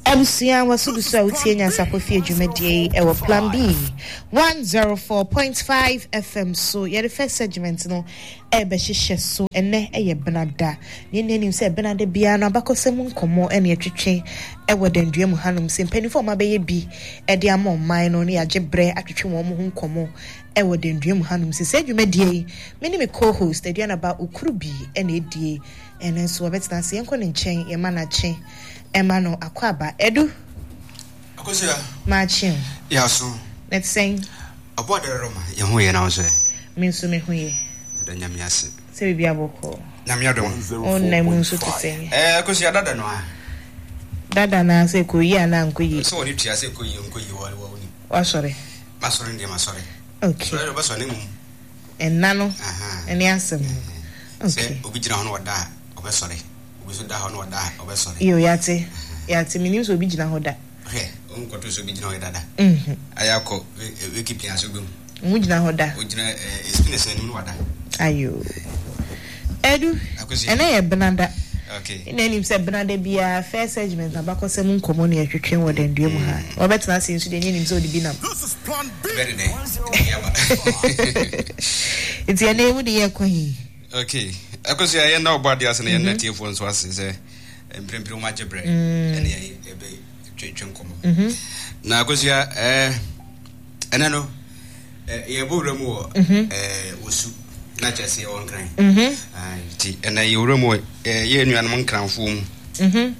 Abusua waso gu so a wotie Nyansapɔ Fie dwumadie yi ɛwɔ Plan B 104.5 FM so. Yɛde first segment no ɛrebɛhyehyɛ so. Ɛnɛ ɛyɛ Benada. Nea ɛni anim sɛ Benada biara no abakɔsɛm nkɔmmɔ ɛne ɛtwetwe ɛwɔ dandua mu hanom sɛ mpanimfoɔ a wɔabɛyɛ bi ɛde ama ɔman no ne yɛagye berɛ atwetwe wɔn ho nkɔmmɔ ɛwɔ dandua mu hanom sɛ saa dwumadie yi me ne me co-host Aduanaba Okurubi ɛna ɛdie. Ɛno nso wɔbɛtena ase yɛnkɔ ne nkyɛn yɛma no akye. Ɛma no akwaaba. Adu. Akosua. Makye o. Yaso. Na ɛte sɛn? Ɔbɔ adarɔ ma yɛn ho yɛ na wo nso ɛ? Me nso me ho yɛ. Yɛda Nyame ase. Sɛ biribi abɔkɔ. Nyame adom. Wo nna mu nso te sɛn? Ɛɛ Akosua dada no a. Dada no a sɛ ɛkɔ yie anaa ankɔ yie? Sɛ wɔde tua sɛ ɛkɔ yie nkɔ yie wɔ wɔ nim. Wasɔre? Masɔre deɛ masɔre. Okay. Sɔre deɛ ɔbɛsɔre ne mmom. Ɛnna no ɛne asɛm no. Okay. Sɛ obi gyina hɔ na ɔda a ɔbɛsɔre. Obi nso da hɔ na ɔda a, ɔbɛsɔre. Iyo, yɛate. Yɛate. Menim sɛ obi gyina hɔ da. Hwɛ, wonkɔto sɛ obi gyina hɔ da da. Ayɛ akɔ wiki pia so wobɛhu. Ɔmo gyina hɔ da. Ogyina spinners anim na wada. Ayo. Edu, ɛnɛ yɛ benada. Okay. Ɛna anim sɛ benada biara first segment abakɔsɛm nkɔmmɔ na yɛtwetwe wɔ dandua mu ha. Wɔbɛtena ase nso deɛ ɛnyɛ nim sɛ ɔde bi nam. Ɛbɛ ne dɛn? Nti ɛnɛ wo de yɛ kɔ he? Okay. Akosua, yɛn na ɔbɔ adeɛ ase na yɛn na tiefoɔ nso ase sɛ mprempren wɔn agye brɛ ɛne yɛn ɛbɛ twetwe nkɔmɔ. Mm-hmm. Na Akosua, ɛɛ ɛnɛ no yɛbɔ wura mu wɔ mm-hmm. ɛɛ wosu na kyerɛ sɛ yɛwɔ nkran. Mm-hmm. Nti ɛnɛ yɛ wura mu wɔ yɛ nuanom nkranfoɔ mu.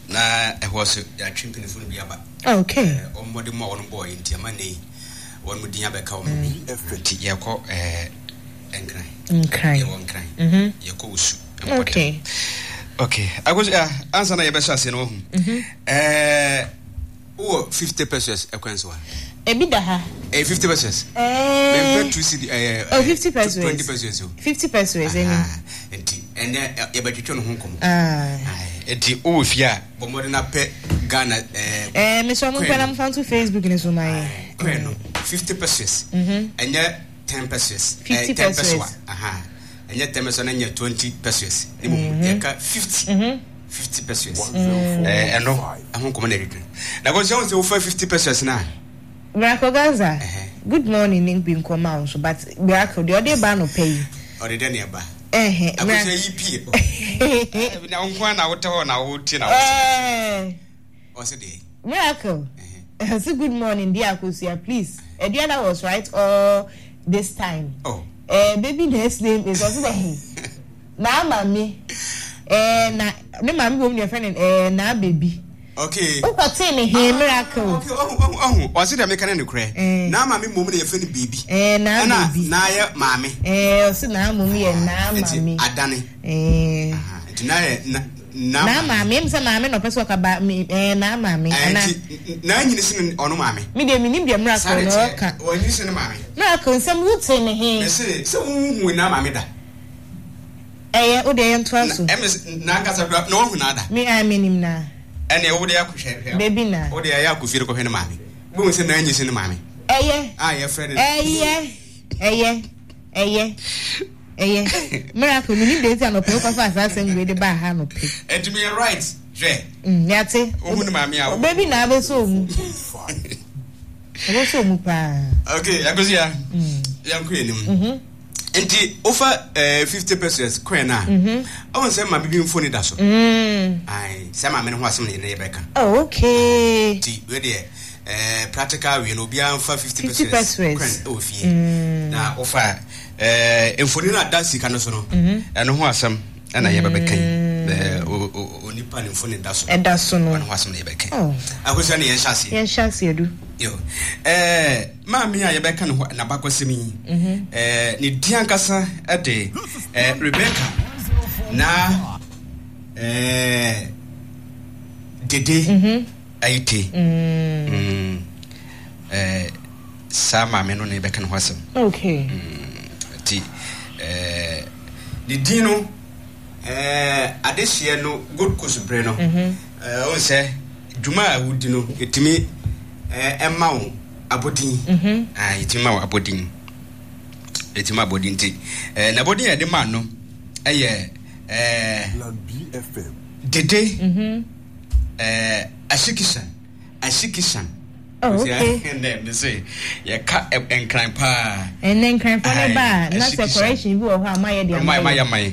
Na ɛhɔ so yɛatwe mpanyinfoɔ no bi aba. Okay. Wɔn mmɔde mu a wɔn bɔɔ yɛ nti ama ne yi wɔn mu din abɛka wɔn bi. Nti yɛkɔ ɛɛ. Nkran. Nkran. Yɛwɔ Nkran. Mm-hmm. Yɛkɔ Osu. Okay. Okay. Akosi ah, ansa na yɛbɛhyɛ aseɛ no wahu. Mm-hmm. Eh, wowɔ 50 pesos ɛkwan so a? Ebi da ha. Eh, 50 pesos. Eh. Mempɛ 2 cedi eh, oh, 50 pesos. 20 pesos o. 50 pesos ɛni. Nti ɛnɛ yɛbɛtwetwe no ho nkɔmmɔ. Ah. Nti wowɔ fie a bɔ mmɔden na pɛ Ghana eh. Eh, mesɛ ɔmo mpɛ na mfa nto Facebook ne so ma yɛ. Kwan no 50 pesos. Ɛnyɛ 10 pesos. 50 10 pesos. Pesoa. Aha. Ɛnyɛ 10 pesos na ɛnyɛ 20 pesos. Ne mmom mm-hmm. yɛka 50. Mm-hmm. 50 pesos. Eh, ɛno ɛho nkɔmɔ na ɛdwidwiri. Na kò sɛ wɔn sɛ wofa 50 pesos na. Miracle Gaza. Good morning ne bi nkɔmɔ a nso but Miracle deɛ ɔde ba no pɛ yi. Ɔde dɛ ne ɛba. Akosua yi pie. Na wo nko na wotɛ hɔ na wotie na wosɛ. Ɔsɛ deɛ. Miracle. Ɔsɛ good morning dear Akosua please. Aduana was right all this time. Oh. Eh, baby next name is ɔsɛ dɛ na maame eh, na ne maame bom deɛ fɛ ne eh, na baby. Okay. Wokɔtee ne he miracle. Okay, ɔhu ɔhu ɔhu ɔsɛ deɛ meka ne nokorɛ. Eh. Na maame mmom na yɛfrɛ no baby. Eh, na baby. Ɛna na yɛ maame. Eh, ɔsɛ na mmom yɛ na maame. Nti adane. Eh. Nti na yɛ na Na maame, ɛmu sɛ maame na ɔpɛ sɛ ɔka ba me ɛɛ na maame. Ɛɛ nti na anyini sene ɔno maame. Me deɛ menim deɛ miracle na ɔka. Ɔnyini sene maame. Miracle nsɛm wo te ne he. Mese sɛ wo hu na maame da. Ɛyɛ wo deɛ yɛn to aso. Ɛmɛ na ankasa kura na wahu na ada. Me a menim na. Ɛnna wo deɛ akɔhwɛ hwɛ. Baby na. Wo deɛ ɛyɛ akɔ fie kɔhwɛ ne maame. Wo hu sɛ na anyi sene maame. Ɛyɛ. A yɛfrɛ no. Ɛyɛ ɛyɛ ɛyɛ. Ɛyɛ. Miracle, menim deɛ nti anɔpɛ wokɔfa saa asɛm wei de baa ha anɔpɛ. Ɛnti meyɛ right, hwɛ. Mm, yate. Wohu ne maame a. Ɔbɛ bi na abɛsɔ omu. Ɔbɛsɔ omu paa. Okay, Akosua. Mm. Yɛnkɔ yɛn anim. Mm-hmm. Nti wofa eh, 50 pesos coin a, mm-hmm. ɔhu sɛ maame bi mfoni da so. Mm. Ae, sɛ maame no ho asɛm na yɛn yɛbɛka. Oh, okay. Nti wei deɛ eh, practical wei no obiara mfa 50 50 pesos pesos. coin ɛwɔ fie. Mm. Na wofa Eh, mfoni no ada sika no so no, mhm. ɛno ho asɛm ɛna yɛbɛbɛka yi. Mm. Eh, onipa ne mfoni da so. Ɛda so no. Ɛno ho asɛm na yɛbɛka yi. Oh. Akosua ne yɛnhyɛ aseɛ. Yɛnhyɛ aseɛ du. Yo. Eh, maame a yɛbɛka ne ho n'abakɔsɛm yi, mhm. eh, ne din ankasa de eh, Rebecca na eh, Dede mhm. Ayite. Mm. Mm. Eh, saa maame no na yɛbɛka ne ho asɛm. Okay. Nti eh, ne din no eh, adehyeɛ no Gold Coast bere no mhm. eh, wohu sɛ dwuma a wodi no ɛtumi eh, ɛma wo abɔdin mhm. ah, ɛtumi ma wo abɔdin ɛtumi ma abɔdin nti eh, n'abɔdin a yɛde ma no ɛyɛ eh, dede mhm. Ɛɛ Ashikishan, Ashikishan. Oh, okay. Ɛnɛ me se yɛka nkran paa. Ɛnɛ nkranfoɔ no ba a na sɛ correction bi wɔ hɔ a mayɛ de ama yɛ.